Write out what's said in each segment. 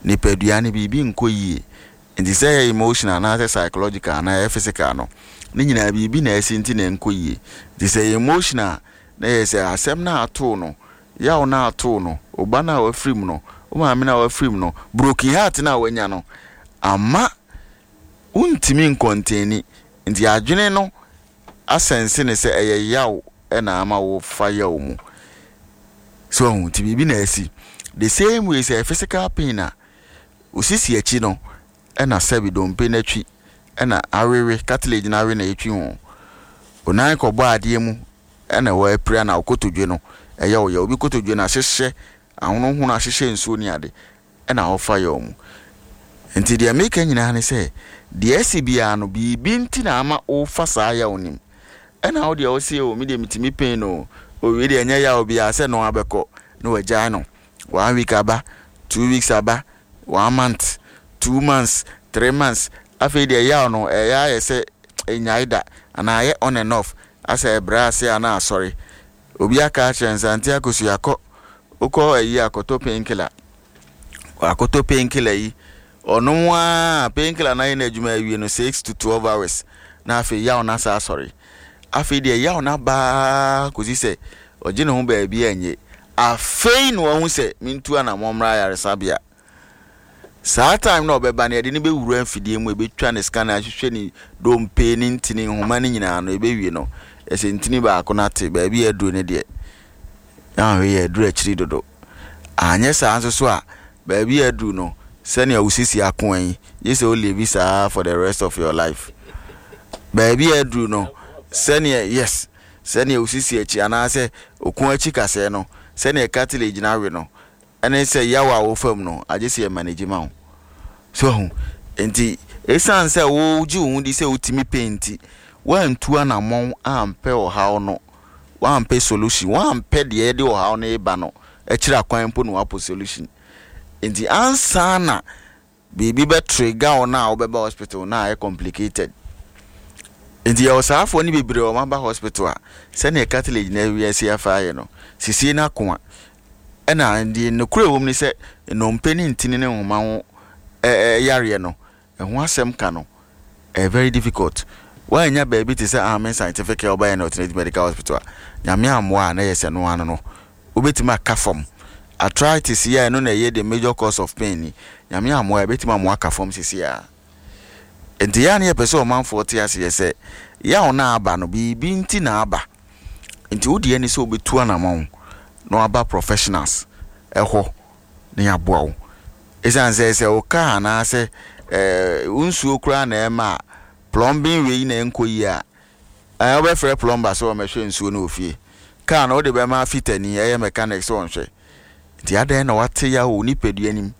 Nipadua no biribi nkɔ yie. Nti sɛ ɛyɛ emotional anaasɛ psychological anaa ɛyɛ physical no, ne nyinaa biribi na asi nti na ɛnkɔ yie. Nti sɛ ɛyɛ emotional a, na ɛyɛ sɛ asɛm no a atoo no, yaw no a atoo no, wo ba no a wafiri mu no, wo maame no a wafiri mu no, broken heart no a wanya no, ama wontumi nkɔntɛni. Nti adwene no asɛnse no sɛ ɛyɛ yaw na ama wofa yaw mu. So wahu? Nti biribi na asi. The same way sɛ ɛyɛ physical pain a, wo sisi akyi no na sɛbi dompe no atwi na awewe, cartilage no awe na etwi ho. Wo nan kɔbɔ adeɛ mu na wapira na wo kotodwe no ɛyɛ wo ya. Obi kotodwe no ahyehyɛ, ahonohono ahyehyɛ nsuo ne ade na ɔfa yaw mu. Nti deɛ meka nyinaa ne sɛ, deɛ asi biara no biribi nti na ama wofa saa yaw no mu. Ɛna wo deɛ wose o me deɛ metumi pain o, o wei deɛ ɛnyɛ yaw biara sɛ no abɛkɔ na wagyae no. One week aba, 2 weeks aba, one month, 2 months, 3 months, afei deɛ yaw no ɛyɛ ayɛ sɛ ɛnyae da anaa ayɛ on and off, asɛ ɛbrɛ ase anaa asɔre. Obi aka akyerɛ Nsante Akosua kɔ, wokɔ ayi akɔtɔ painkiller. Wakɔtɔ painkiller yi, ɔnom ara painkiller no ayɛ n'adwuma awie no 6 to 12 hours na afei yaw no asa asɔre. Afei deɛ yaw no abaa kɔsi sɛ ɔgye ne ho baabi anye. Afei na wahu sɛ mentu anammɔn mmra ayaresabea. Saa time na ɔbɛba no, yɛde no bɛwura mfidie mu, ɛbɛtwa ne scanner, ahwehwɛ ne dompe ne ntini nhoma no nyinaa no, ɛbɛwie no, ɛsɛ ntini baako no ate baabi a aduru no deɛ, ahwɛ yɛ aduru akyiri dodo. Anyɛ saa nso so a, baabi a aduru no, sɛnea wo sisi ako yi, gye sɛ wo live saa for the rest of your life. Baabi a aduru no, sɛnea, yes, sɛnea wo sisi akyi anaasɛ oko akyi kasɛɛ no, sɛnea cartilage no awe no, ɛne sɛ yaw a wofa mu no, agye sɛ yɛ manage ma wo. So ahu? Nti, ɛsiane sɛ wogye wo ho di sɛ wotumi pɛ nti, woantu anammɔn ampɛ ɔhaw no, woampɛ solution, woampɛ deɛ ɛde ɔhaw no reba no akyiri akwan mpo na woapɔ solution. Nti ansa na biribi bɛ trigger wo no a wobɛba hospital na ayɛ complicated. Nti yɛwɔ saafoɔ no bebree a wɔaba hospital a, sɛnea cartilage no awiase afa ayɛ no, sisie no ako a, ɛna deɛ nokorɛ wɔ mu ne sɛ nnompe ne ntini ne nhoma ho yareɛ no, ɛho asɛm ka no, ɛyɛ very difficult. Woannya baabi te sɛ Amen Scientific Herbal and Alternative Medical Hospital a, Nyame ammoa a na ɛyɛ sɛ no ano no, wobɛtumi aka fam. Arthritis yi a ɛno na ɛyɛ the major cause of pain ni, Nyame ammoa a ɛbɛtumi amoa aka fam sisi a. Nti yɛ a na yɛpɛ sɛ ɔmanfoɔ te aseɛ sɛ yaw no aba no, biribi nti na aba. Nti wo deɛ ne sɛ wobɛtu anammɔn na waba professionals ɛhɔ na yɛaboa wo. Ɛsiane sɛ sɛ wo car anaasɛ wo nsuo koraa na ɛma a plumbing wei na ɛnkɔ yie a, wobɛfrɛ plumber sɛ ɔmmɛhwɛ nsuo no wɔ fie. Car no wode bɛma fitani, ɛyɛ mechanic, sɛ ɔnhwɛ. Nti adɛn na wate yaw wɔ nipadua nim?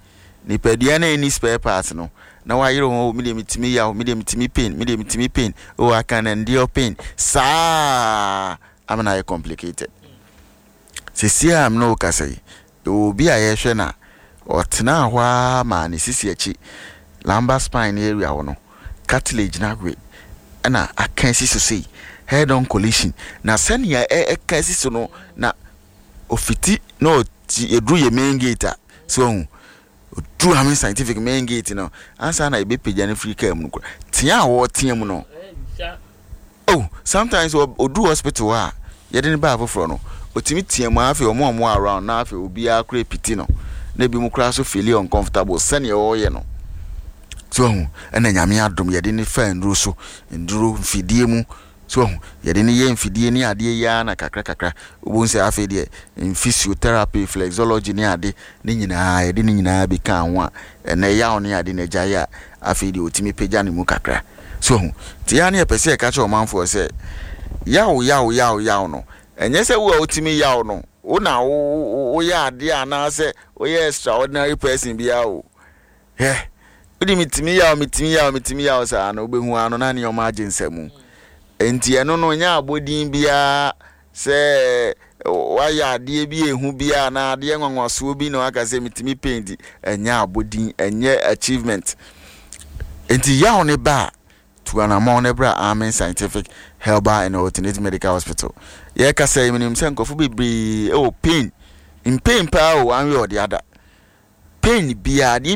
Nipadua no a ɛnni spare parts no, na wayere ho, oh, me deɛ metumi yaw, me deɛ metumi pain, me deɛ metumi pain, oh, I can endure pain. Saa ama no ayɛ complicated. Seesei a me ne wo kasa yi, yɛwɔ obi a yɛhwɛ no a, ɔtenaa hɔ ara maa ne sisi akyi, lumbar spine area hɔ no, cartilage no awe ɛna aka asi so sei, head on collision. Na sɛnea ɛka asi so no, na ofiti na ɔti eduru yɛ main gate a, so ɔhu oduru Amen Scientific main gate no, ansa na ebɛpagya no firi kaa mu no kora, tea a wɔretea mu no, oh, sometimes oduru hospital hɔ a yɛde ne baa foforɔ no, otumi tea mu, afei ɔmo a ɔmo around na afei obiara kora epiti no, na ebi mu koraa so feel uncomfortable sɛnea ɔreyɛ no. So ɔhu, ɛna Nyame adom yɛde ne fa nnuro so, nnuro mfidie mu. So ɔhu, yɛde ne yɛ mfidie ne adeɛ yi ara na kakra kakra wobɛhu sɛ afei deɛ physiotherapy, flexology ne ade ne nyinaa yɛde ne nyinaa bi ka ho a, ɛnɛ yaw ne ade na agyae a, afei deɛ ɔtumi pagya ne mu kakra. So ɔhu, nti yɛa ne yɛpɛ sɛ yɛka kyerɛ ɔmanfoɔ sɛ yaw yaw yaw yaw no, ɛnyɛ sɛ wo a wotumi yaw no wo na woyɛ adeɛ anaasɛ woyɛ extraordinary person biara o. Hwɛ, wode metumi yaw, metumi yaw, metumi yaw saa no, wobɛhu ano na nneɛma agye nsamu. Enti ɛno no nyɛ abɔdin biara sɛ wayɛ adeɛ bi ehu biara anaa adeɛ nwanwasoɔ bi na waka sɛ metumi paint, ɛnyɛ abɔdin, ɛnyɛ achievement. Enti yaw ne ba a, tu anammɔn na bra Amen Scientific Herbal and Alternative Medical Hospital. Yɛrekasa yi, menim sɛ nkurɔfo bebree wɔ pain, pain paa o, one way or the other. Pain biara, adeɛ